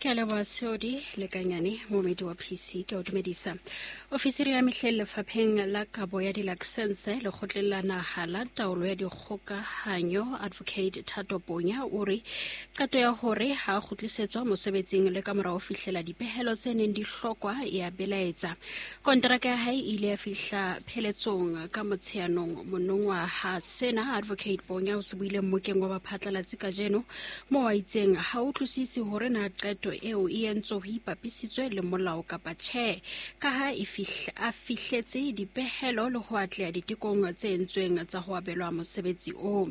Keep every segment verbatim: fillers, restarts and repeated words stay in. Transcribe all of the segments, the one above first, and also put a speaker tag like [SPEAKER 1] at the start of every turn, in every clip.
[SPEAKER 1] Ke a leboha Seodi Lekanyane, momedi wa P C, ke o dumedisa. Ofisiri ya mehleng lefapheng la kabo ya dilaksense lekgotleng la naha la taolo ya dikgokahanyo Advocate Thato Ponya o re qeto ya hore ha a kgutlisetswa mosebetsing le ka mora ho fihlela dipehelo tse neng di hlokwa e a belaetsa. Konteraka ya hae e ile ya fihla pheletsong ka Motsheanong monongwaha. Sena Advocate Ponya o se buile mmokeng wa baphatlalatsi kajeno moo a itseng ha utlwisise hore na qeto eo e entswe ho ipapisitswe le molao kapa tjhe, ka ha e a fihletse dipehelo le ho atleha ditekong tse entsweng tsa ho abelwa mosebetsi oo.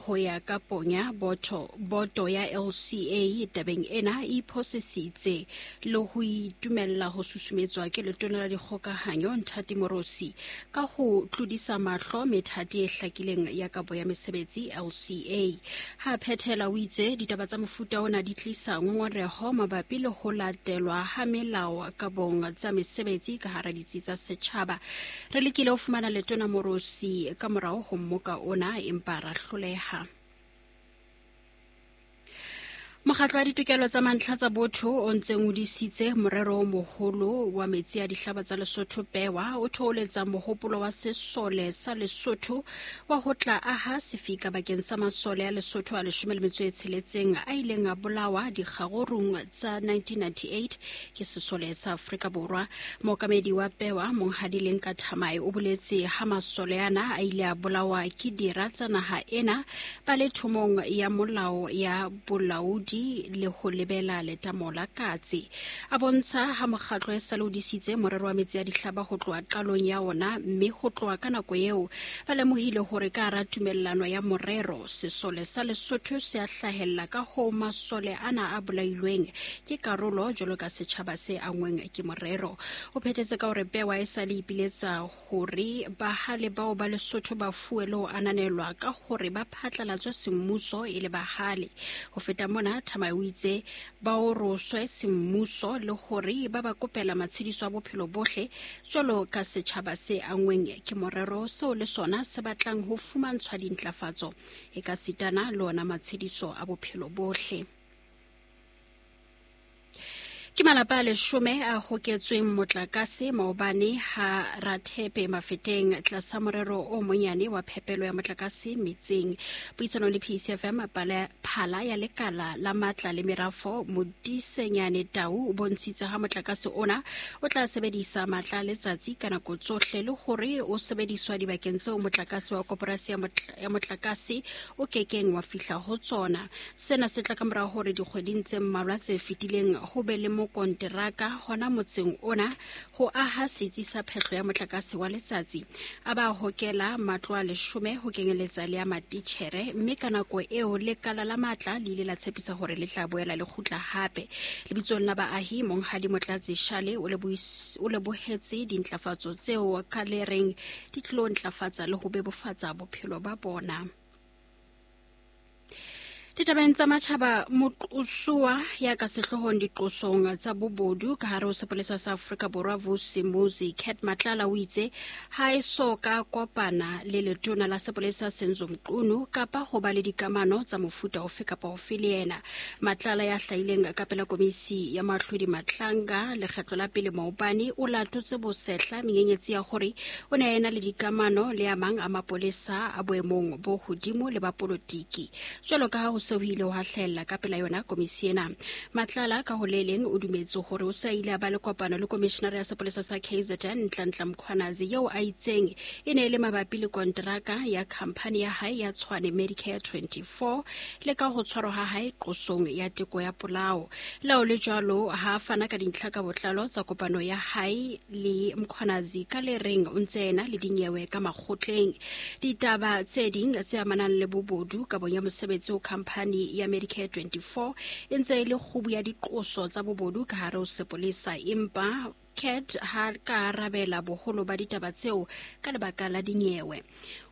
[SPEAKER 1] Ho ya ka Ponya, boto, boto ya L C A tabeng ena e iphosisitse le ho itumella ho susumetswa ke letona la dikgokahanyo Nthati Morosi ka ho tlodisa mahlo methati e hlakileng ya kabo ya mesebetsi L C A. Ha phethela o itse ditaba tsa mofuta ona di tlisa ngongoreho mabapi le ho latelwa ha melao kabong tsa mesebetsi ka hara ditsi tsa setjhaba. Re lekile ho fumana letona Morosi ka morao ho mmoka ona empa ra hloleha. Mokgatlo wa ditokelo tsa mantlha tsa botho o ntseng o disitse morero o moholo wa metsi a dihlaba tsa Lesotho Pewa o thoholetsa mohopolo wa sesole sa Lesotho wa ho tla aha sefika bakeng sa masole a Lesotho a leshome le metso e tsheletseng a ileng a bolawa dikgarurung tsa nineteen ninety-eight ke sesole sa Afrika Borwa. Mookamedi wa Pewa Monghadi Lenka Thamae o boletse ha masole ana a ile a bolawa ke dira tsa naha ena ba le thomong ya molao ya bolaodi le ho lebela letamo la Katse. A bontsha ha mokgatlo e sa le o disitse morero wa metsi a dihlaba ho tloha qalong ya ona, mme ho tloha ka nako eo ba lemohile hore ka hara tumellano ya morero sesole sa Lesotho se a hlahella, ka ho masole ana a bolailweng ke karolo jwalo ka setjhaba se angweng ke morero. O phethetse ka hore Pewa e sa le ipiletsa hore bahale bao ba Lesotho ba fuwe le ho ananelwa ka hore ba phatlalatswe semmuso e le bahale. Ho feta mona, Thamae o itse ba oroswe semmuso le hore ba ba kopela matshediso a bophelo bohle jwalo ka setjhaba se angweng ke morero seo le sona se batlang ho fumantshwa dintlafatso e ka sitana le ona matshediso a bophelo bohle. Ke malapa a leshome a hoketsweng motlakase maobane ha Rathepe Mafeteng tlasa morero o monyane wa phepelo ya motlakase metseng. Puisanong le P C F M, phala ya lekala la matla le merafo Modisenyane Tau o bontshitse ha motlakase ona o tla sebedisa matla a letsatsi ka nako tsohle le hore o sebediswa dibakeng tseo motlakase wa koporasi ya motlakase o kekeng wa fihla ho tsona. Sena se tla ka mora hore dikgweding tse mmalwa tse fetileng ho be le konteraka hona motseng ona ho aha setsi sa phehlo ya motlakase wa letsatsi. A ba hokela matlo a leshome ho kenyeletsa le ya matitjhere, mme ka nako eo lekala la matla le ile la tshepisa hore le tla boela le kgutla hape. Lebitsong la baahi, Monghadi Motlatsi Shale o lebohetse dintlafatso tseo ka le reng di tlo ntlafatsa le ho bebofatsa bophelo ba bona. Ditabeng tsa matjhaba, moqosuwa ya ka sehloohong diqosong tsa bobodu ka hare ho sepolesa sa Afrika Borwa Vusi Muzi Cat Matlala o itse ha e so ka kopana le letona la sepolesa Senzo Mqunu kapa ho ba le dikamano tsa mofuta ofe kapa ofe le yena. Matlala ya hlahileng ka pela komisi ya Mahlodi Matlanga lekgetlo la pele maobane o latotse bosehla menyenyetsi ya hore o ne a ena le dikamano le a mang a mapolesa a boemong bo hodimo le ba polotiki jwalo ka ha ho se ho ile ho hlahella ka pela yona komisi ena. Matlala ka ho le leng o dumetse hore o sa ile a ba le kopano le komishinara ya sepolesa sa K Z N Nhlanhla Mkhwanazi eo a itseng e ne e le mabapi le konteraka ya khamphani ya hae ya Tshwane Medicare twenty-four le ka ho tshwarwa ha hae qosong ya teko ya polao. Lao le jwalo ha fana ka dintlha ka botlalo tsa kopano ya hae le Mkhwanazi ka le reng o ntse ena le dinyewe ka makgotleng. Ditaba tse ding tse amanang le bobodu ka bonya mosebetsi ho khamphani ya Medicare twenty-four e ntse e le kgubu ya diqoso tsa bobodu ka hare ho sepolesa, empa Cat ha ka arabela boholo ba ditaba tseo ka lebaka la dinyewe.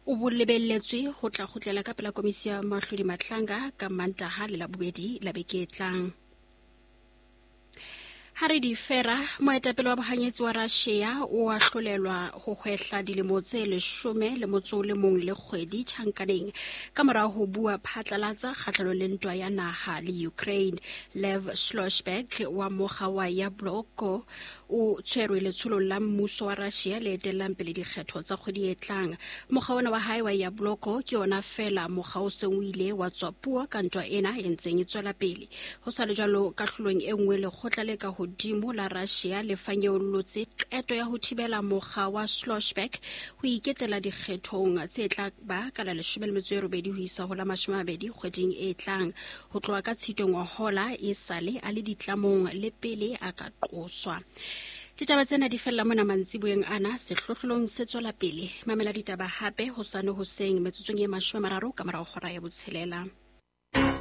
[SPEAKER 1] O bolebelletswe ho tla kgutlela ka pela komisi ya Mahlodi Matlanga ka Mantaha le Labobedi la beke e tlang. Ha re di fera, moetapele wa bohanyetsi wa Russia o ahlolelwa ho hwehla dilemo tse leshome le motso o le mong le kgwedi tjhankaneng ka mora ho bua phatlalatsa kgahlanong le ntwa ya naha le Ukraine. Lev Shlossberg wa mokga wa Yabloko o tshwerwe letsholong la mmuso wa Russia le etellang pele dikgetho tsa kgwedi e tlang. Mokga ona wa hae wa Yabloko ke ona feela mokga o seng o ile wa tswa puo ka ntwa ena e ntseng e tswela pele. Ho sa le jwalo, kahlolong e nngwe lekgotla le ka hodimo la Russia le fanyeollotse qeto ya ho thibela mokga wa Shlossberg ho iketela dikgethong tse tla ba ka la leshome le metso e robedi ho isa ho la mashome a mabedi kgweding e tlang. Ho tloha ka Tshitwe ngwahola e sale a le ditlamong le pele a ka qoswa. Ditaba tsena di fella mona mantsiboyeng ana, sehlohlolong se tswela pele. Mamela ditaba hape hosane hoseng metsotsong e mashome a mararo ka morao hora ya botshelela.